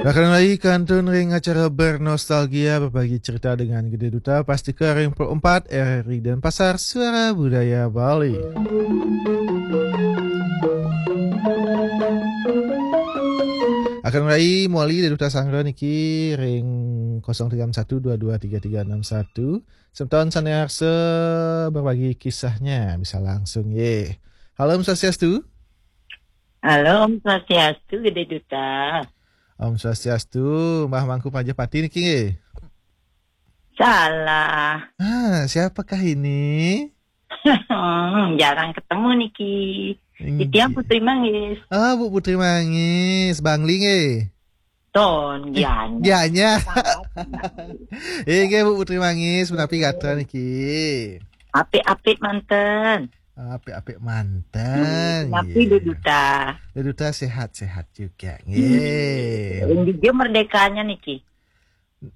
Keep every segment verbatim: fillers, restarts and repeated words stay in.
Akan lagi kantun ring acara Bernostalgia, berbagi cerita dengan Gede Duta, pastika ring Pro empat R R I Denpasar, Suara Budaya Bali. Akan lagi muali Gede Duta sanggra niki ring kosong tiga enam satu dua dua tiga tiga enam satu. Semeton sane arsa berbagi kisahnya bisa langsung ye. Halo, Om Swastiastu. Halo, Om Swastiastu, Gede Duta. Om Swastiastu, Mbah Mangku Majapati niki nggih. Salah. Ah, siapakah ini? Hmm, jarang ketemu niki. Inggih. Titiang Putri Manggis. Ah, Bu Putri Manggis, Bangli nggih. Ton, Gianyar. Gianyar. Inggih, Bu Putri Manggis, punapi gatra niki? Apik-apik manten. Apik-apik manten. Punapi, Gede Duta? Gede Duta sehat-sehat juga nggih. Ring dija merdekanya niki?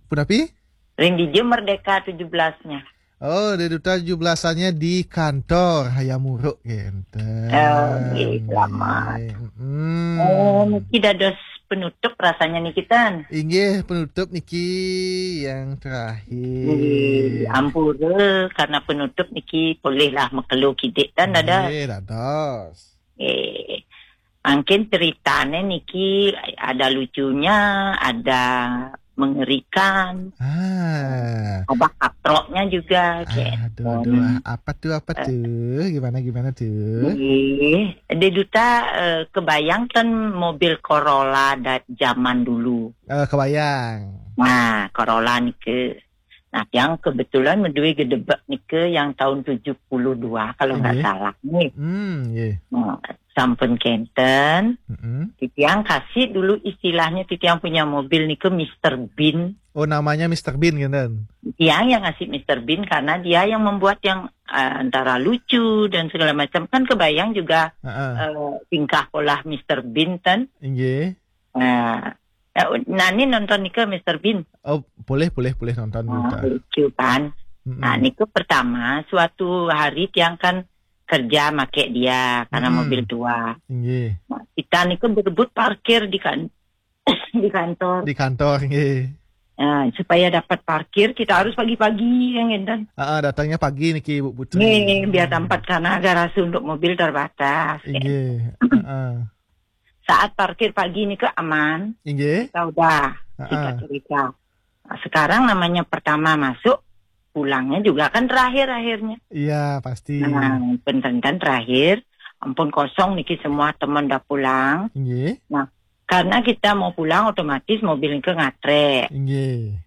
Punapi? Ring dija merdeka tujuh belasnya? Oh, Gede Duta tujuh belasannya di kantor Hayam Wuruk kenten. Oh, nggih, selamat. Nggih, mm-mm. Oh, niki dados penutup rasanya niki, ten. Inggih, penutup niki yang terakhir. Nggih, ampura karena penutup niki polihlah makelo kidik, ten, dados. Nggih, dados. Eh, mungkin ceritane niki ada lucunya, ada mengerikan, Ah. ada katroknya juga, gitu. Aduh, aduh, ah, apa tuh, apa tuh? Gimana, gimana tuh? Nggih, Gede Duta, eh, kebayang ten mobil Corolla da zaman dulu. Eh, kebayang. Nah, Corolla nike. Nah, tiang kebetulan medue gedebek nike yang tahun tujuh puluh dua kalau nggak Nggih. Salah nih. Hmm, nggih. Nah, sampun kenten. Mm-mm. Titiang kasih dulu istilahnya, titiang punya mobil nike Mister Bean. Oh, namanya Mister Bean kenten. Tiang yang ngasih Mister Bean karena dia yang membuat yang eh, antara lucu dan segala macam. Kan kebayang juga Heeh. eh, tingkah pola Mister Bean, ten. Inggih. Nah, eh, nani nonton nike Mister Bean? Oh, boleh, boleh, boleh nonton dulu, Nah, Kak. lucu kan. Mm-mm. Nah, nike pertama, suatu hari tiang kan kerja make dia karena Mm-mm. mobil tua. Inggih. Nah, kita nike berebut parkir di kan di kantor. Di kantor, nggih. Nah, supaya dapat parkir kita harus pagi-pagi, yang ngenten. Ah, ah, datangnya pagi niki, Bu Putri. Nih, biar tempat karena garasi untuk mobil terbatas. Inggih. Heeh. Saat parkir pagi nike aman, Inggih. kita udah Ah, kita ah. cerita. Nah, sekarang namanya pertama masuk, pulangnya juga kan terakhir akhirnya. Iya, pasti. Nah, penten terakhir, ampun kosong niki semua teman udah pulang. Inggih. Karena kita mau pulang otomatis mobil nike ngatre. Inggih.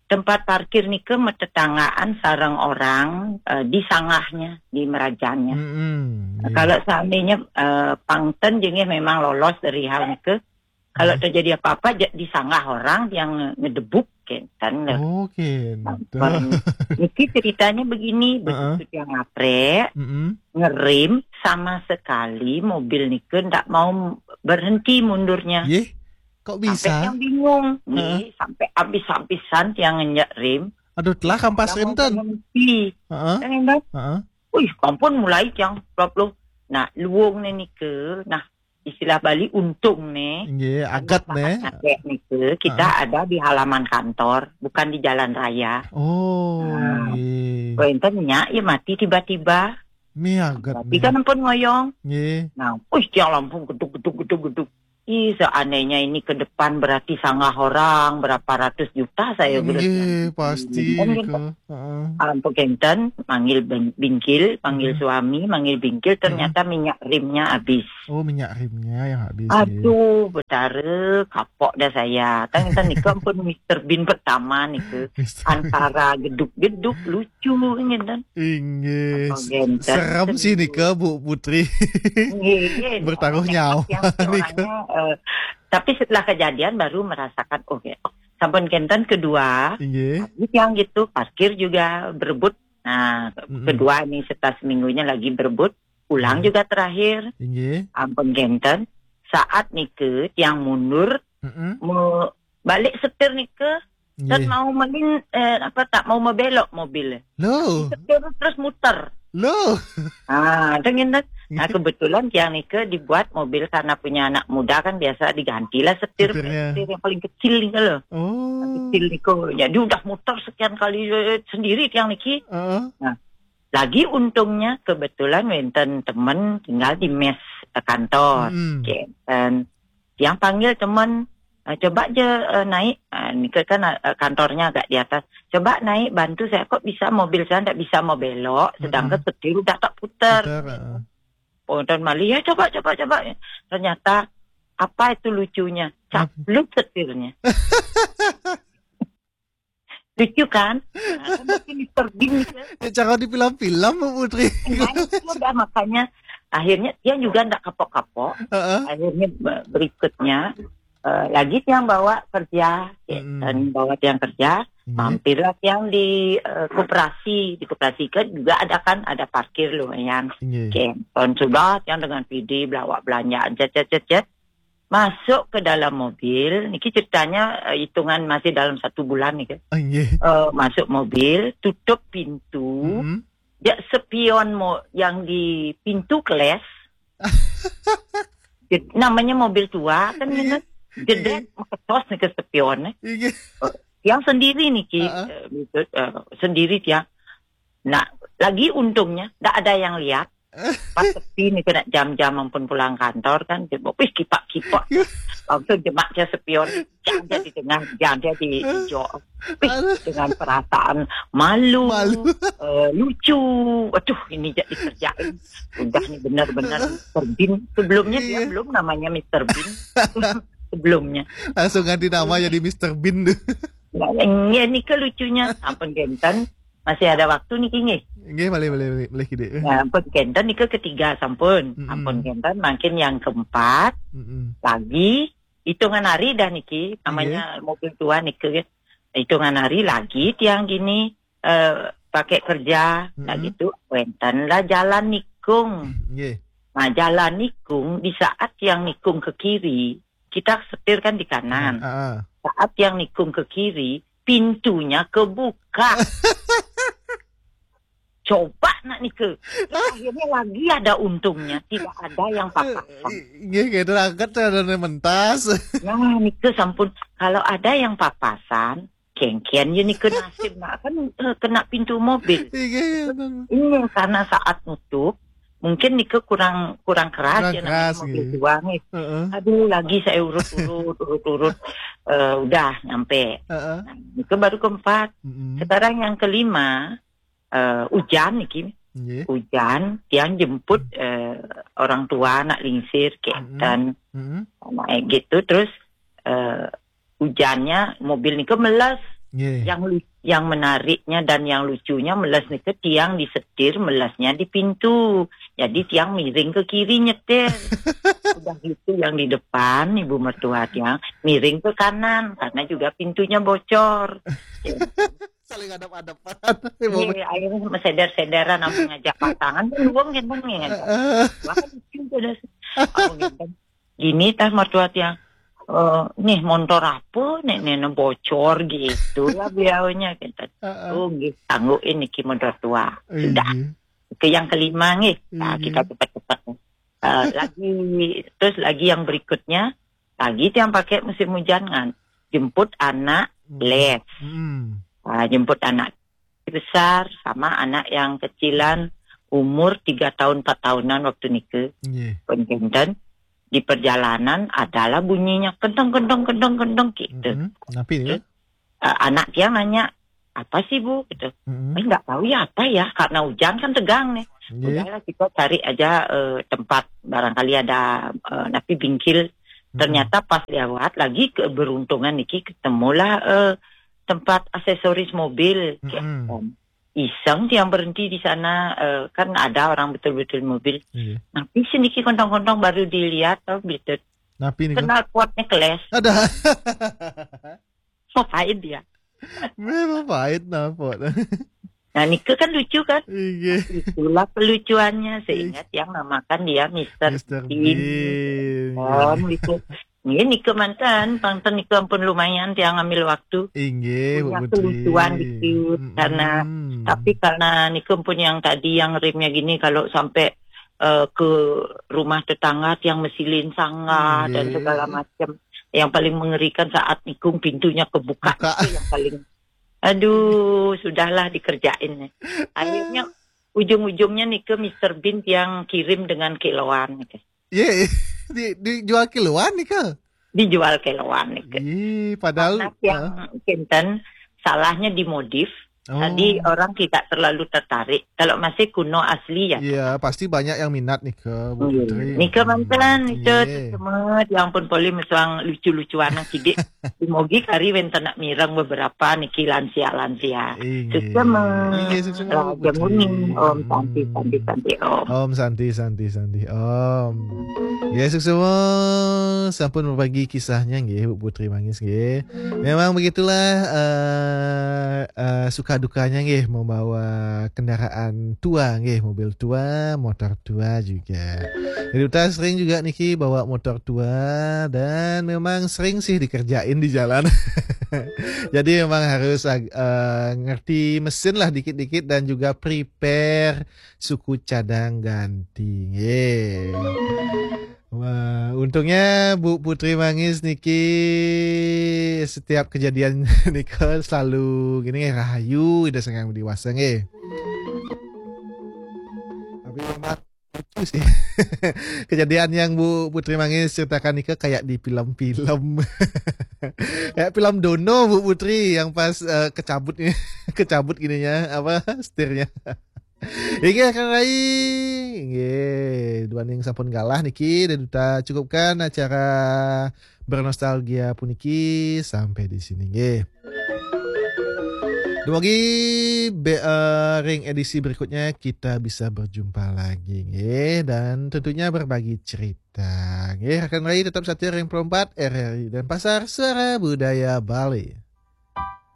Tempat parkir nike metetanggaan sareng orang eh, di sanggahnya, di merajannya. Mm-mm, Nah, nggih. kalau seandainya eh, pangten jengih memang lolos dari hal nike, kalau Hmm. terjadi apa-apa ja- di sanggah orang yang ngedebuk, kenten lho. Oke, betul. Bareng niki ceritanya begini, Heeh. begitu dia ngatre, Mm-mm. ngerem, sama sekali mobil nike ndak mau berhenti mundurnya. Yeh, kok Sampai bisa? Yang bingung, Heeh. Nggih, sampai habis-habisan tiang ngenyek rem. Aduh, telah kampas Ndak rem mau ten. Berhenti. Heeh. Kan, kan? Heeh. Wih, ampun mulai tiang plop loh. Nah, luung ne nike. Nah, istilah Bali untung ne. Nggih, agat ne. Pakai nike, kita Ah. ada di halaman kantor, bukan di jalan raya. Oh, Nah. nggih. Wenten nyak ya mati tiba-tiba. Mi agat Tapi ne. Kan ampun ngoyong. Nggih. Nah, wih, tiang lampung geduk geduk geduk geduk. Ih, seandainya ini ke depan berarti sanggah orang berapa ratus juta saya Nggih, berarti. pasti Kan niko. gitu. Heeh. Ampun kenten, manggil ben- bingkil, manggil Hmm. suami, manggil bingkil, ternyata minyak remnya habis. Oh, minyak remnya yang habis. Nggih. Aduh, betara kapok dah saya. Kan kan niko ampun Mister Bean pertama niko. Mister Antara geduk-geduk lucu kan. Inggih. Ampun kenten. Serem sih nika, Bu Putri. Nggih, nggih. Bertaruh Nekat nyawa yang nika. Orangnya, eh, tapi setelah kejadian baru merasakan, oh ya, sampun kenten kedua, Inggih. yang gitu, parkir juga berebut. Nah, Mm-mm. kedua ini setelah seminggunya lagi berebut, pulang Inggih. Juga terakhir. Inggih. Ampun kenten, saat nike tiang mundur, Mm-mm. mau balik setir nike, dan Inggih. Mau melin, eh, apa, tak mau membelok mobil. Loh. Setir terus muter. Loh. Ah, dengan Nah, kebetulan tiang nika dibuat mobil karena punya anak muda kan biasa digantilah setir, Setirnya. Setir yang paling kecil nih loh. Oh. Kecil niko. Jadi udah muter sekian kali eh, sendiri tiang niki. Heeh. Lagi untungnya kebetulan wenten temen tinggal di mes eh, kantor. Mm-mm. Oke, dan tiang panggil temen, eh, coba aja eh, naik. Eh, nika kan eh, kantornya agak di atas. Coba naik bantu saya, kok bisa mobil saya ndak bisa mau belok, sedangkan setir udah tak putar. Putar, heeh. Oh, dan malih, ya coba, coba, coba. Ternyata apa itu lucunya? Caplut setirnya. Lucu kan? Nah, kan mungkin Mister Bean gitu. Ya, cara di film-film, Bu Putri. Nah, itu udah makanya akhirnya dia juga ndak kapok-kapok. Heeh. Akhirnya be- berikutnya eh, lagi tiang bawa kerja, ya, Mm-mm. dan bawa tiang kerja, Nggih. mampirlah tiang di eh, koperasi, di koperasi kan juga ada kan ada parkir lumayan. Nggih. Oke, tahun sudah tiang dengan P D bawa belanjaan, cet, cet, cet, cet. Masuk ke dalam mobil, niki ceritanya eh, hitungan masih dalam satu bulan nih kan. Ah, nggih. Eh, masuk mobil, tutup pintu, Mm-mm. ya spion mo yang di pintu keles. Jed- namanya mobil tua kan gitu. Jedet, ketos nih ke spionnya. Nggih. Yang sendiri nih Ki, Heeh. eh, gitu, eh, sendiri tiang. Nah, lagi untungnya ndak ada yang lihat. Pas sepi nih kena jam-jam ampun pulang kantor kan, dia wih kipak-kipak. Langsung jemak dia spion, jangan dia di tengah, jangan dia di hijau. Wih, Aduh. dengan perasaan malu, Malu. eh, lucu. Waduh, ini jadi dikerjain. Udah nih benar-benar Mister Bean. Sebelumnya dia Iya. belum namanya Mister Bean. Sebelumnya. Langsung ganti nama jadi Mister Bean tuh. Nah, ini, ini kelucunya. Ampun kenten, masih ada waktu nih kini. Nggih, malih, malih, malih, malih gede. Nah, ampun kenten nih ke ketiga sampun. Mm-mm. Ampun kenten, makin yang keempat Mm-mm. lagi hitungan hari dah niki, namanya mobil tua niki. Hitungan hari lagi tiang gini eh, pakai kerja, nah Mm-mm. gitu. Wenten lah jalan nikung. Nggih. Nah, jalan nikung, di saat tiang nikung ke kiri, kita setir kan di kanan. Heeh. Saat tiang nikung ke kiri, pintunya kebuka. Coba nak nika. Terus akhirnya lagi ada untungnya, tidak ada yang papasan. Nggih, gitu, angkat ada mentas. Nah, nika sampun, kalau ada yang papasan, kengken ya nika nasib nak kan eh, kena pintu mobil. Iya, iya, benar. Ini karena saat nutup, mungkin nika kurang kurang keras Kurang ya keras, namanya mobil gitu. Tua nih. Heeh. Aduh, lagi saya urut-urut, urut-urut, eh, udah nyampe. Heeh. Nah, itu baru keempat. Mm-mm. Sekarang yang kelima, eh, hujan niki. Nggih. Hujan, tiang jemput eh, orang tua, anak lingsir, kenten, Mm-mm. naik gitu, terus eh, hujannya mobil nika meles. Nggih. Yang lu- yang menariknya dan yang lucunya meles nika tiang disetir, melesnya di pintu. Jadi tiang miring ke kiri nyetir. Udah gitu yang di depan ibu mertua tiang miring ke kanan karena juga pintunya bocor. Saling hadap-hadapan. Iya, akhirnya sama seder-sederan sama ngajak pasangan kan luang kan ngajak. Wah, lucu tuh dah. Apa gitu. Gini tah mertua tiang. Eh, nih motor apa nih nenek bocor gitu lah beliaunya gitu. Heeh. Oh, nggih, sanggup ini ki motor tua. Sudah. Iya. Ke yang kelima nggih. Nah, Iya. kita cepat-cepat. Eh, lagi terus lagi yang berikutnya, lagi tiang pakai musim hujan kan. Jemput anak les. Hmm. Ah, jemput anak besar sama anak yang kecilan umur tiga tahun empat tahunan waktu nike. Nggih. Pun kenten, di perjalanan adalah bunyinya kendeng kendeng kendeng kendeng gitu. Mm-mm. Napi nih? Eh, anak tiang nanya, apa sih bu gitu. Mm-mm. Eh, nggak tahu ya apa ya karena hujan kan tegang nih. Nggih. Udahlah kita cari aja eh, tempat barangkali ada eh, napi bingkil. Ternyata pas lewat lagi keberuntungan niki ketemulah eh, tempat aksesoris mobil. Mm-mm. Iseng tiang berhenti di sana eh, kan ada orang betul-betul mobil. Iya. Tapi siniki kontong-kontong baru dilihat oh gitu. Napi nih? Kenal kuatnya keles. Ada. Mau pahit dia. Memang pahit napa? Nah, nike kan lucu kan? Iya. Itulah kelucuannya sehingga tiang namakan dia Mister Mister Bean. Bean. Kan gitu. Ini nike mantan, pangten nike ampun lumayan tiang ambil waktu. Inggih, Bu Punya Putri. Kelucuan dikit, Mm-mm. karena tapi karena nike pun yang tadi yang rimnya gini kalau sampai eh, ke rumah tetangga tiang mesilin sangga dan Nggih. segala macam. Yang paling mengerikan saat nikung pintunya kebuka. Buka. Itu yang paling, aduh, sudahlah dikerjain. Akhirnya ujung-ujungnya nika Mister Bean tiang kirim dengan kiloan nika. Ye, di, dijual kiloan nika? Dijual kiloan nika. Ih, padahal Karena yang kinten salahnya dimodif. Oh. Jadi orang tidak terlalu tertarik. Kalau masih kuno asli ya. Iya, pasti banyak yang minat nika, Bu Iya. Putri. Nika mantan, nika Iya. semet yang pun boleh mesuang lucu-lucuan yang sidik. Dimogi kari wenten nak mireng beberapa niki lansia-lansia. Inggih. Suksema. Inggih, suksema, Raja Bu Putri. Muning. Om Santi, Hmm. Santi, Santi, Om. Om Santi, Santi, Santi, Om. Ya, suksema sampun berbagi kisahnya nggih, Bu Putri Mangis nggih. Memang begitulah eh, eh, suka dukanya nggih membawa kendaraan tua nggih, mobil tua, motor tua juga. Jadi Uta sering juga niki bawa motor tua dan memang sering sih dikerjain di jalan. Jadi memang harus ag- eh, ngerti mesin lah dikit-dikit dan juga prepare suku cadang ganti. Nggih. Wah, untungnya Bu Putri Mangis niki setiap kejadian nika selalu gini nggih, rahayu ida sangang dewasa nggih. Tapi memang lucu sih. Kejadian yang Bu Putri Mangis ceritakan nika kayak di film-film. Kayak film Dono, Bu Putri, yang pas eh, kecabut ni, kecabut gininya, apa, setirnya. Inggih, Kang Rai. Inggih, duaning sampun galah niki, dan Uta cukupkan acara bernostalgia puniki sampai di sini nggih. Dumugi be, eh, ring edisi berikutnya kita bisa berjumpa lagi nggih, dan tentunya berbagi cerita. Nggih, rakan rai tetap setia ring Pro empat R R I Denpasar, Suara Budaya Bali.